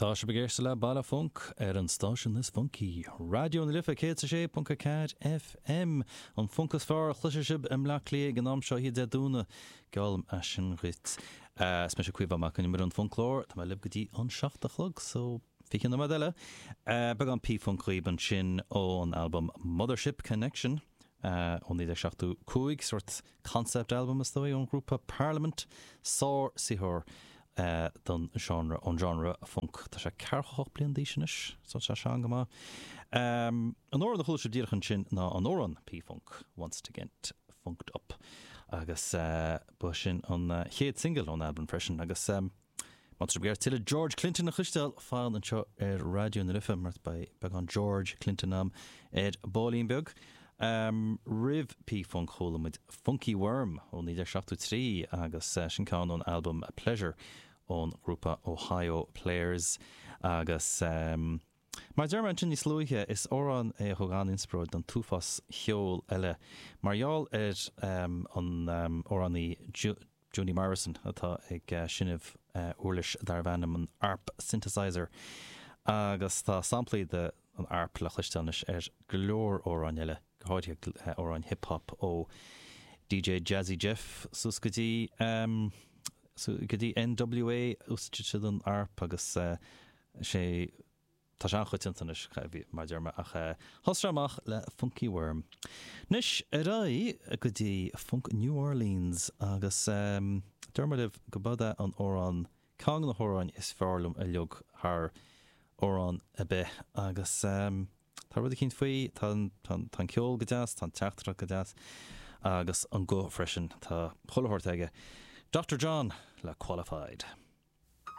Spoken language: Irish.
Tá sibh ag éisteacht le Baile Func ar an stáisiún is funcaí, Raidió na Life 106.4 FM. An func is fearr a chloisfidh sibh i mBleá Cliath ag an am seo oíche Dé Domhnaigh. Geallaim é sin dhuit. Is mise Caoimhe Mac Con Iomaire an Funclóir. Tá mé libh go dtí an 7 a chlog, so 20 nóiméad eile. Beagán P-Funk dhaoib ansin ón albam Mothership Connection ó 1975, sórt concept album is dóigh ón ghrúpa Parliament. Sár-saothar don genre, ón genre func. Tá sé ceathracha hocht bliain d'aois anois, so tá sé sean go maith. An amhrán a chuala sibh díreach ansin ná an amhrán P-Funk, Wants to Get Funked Up, agus ba sin an chéad singil ón albam freisin. Agus má tá sibh ag iarraidh tuilleadh George Clinton a chloisteáil, fan anseo ar Raidió na Life mar beidh beagán George Clinton a'm ar baillín beag. Roimh P-Funk chuala muid Funky Worm ó 1973 agus sin ceann ón albam Pleasure ón ghrúpa Ohio Players agus mar a deir mé ansin níos luaithe is amhrán é a thug an-inspioráid don t-uafás cheoil eile mar gheall ar an amhránaí Joni Morrison atá ag seinm uirlis darbh ainm an Arp Synthesizer agus tá samplaí de an arp le cloisteáil anois ar go leor amhráin eile, go háirithe amhráin hip hop ó DJ Jazzy Jeff suas go dtí go dtí NWA, úsáideann siad an arp agus sé Tá sé an-choitianta anois, mar a deir mé, ach thosaigh sé amach le Funky Worm. Anois, ar aghaidh go dtí Funk New Orleans agus deir mé libh go b'é an amhrán, ceann de na hamhráin is fearr liom uilig thar amhrán ar bith agus tá rud eicínt faoi, tá an ceol go deas, tá an teachtaireacht go deas agus an guth freisin, tá chuile shórt aige. Doctor John le Qualified.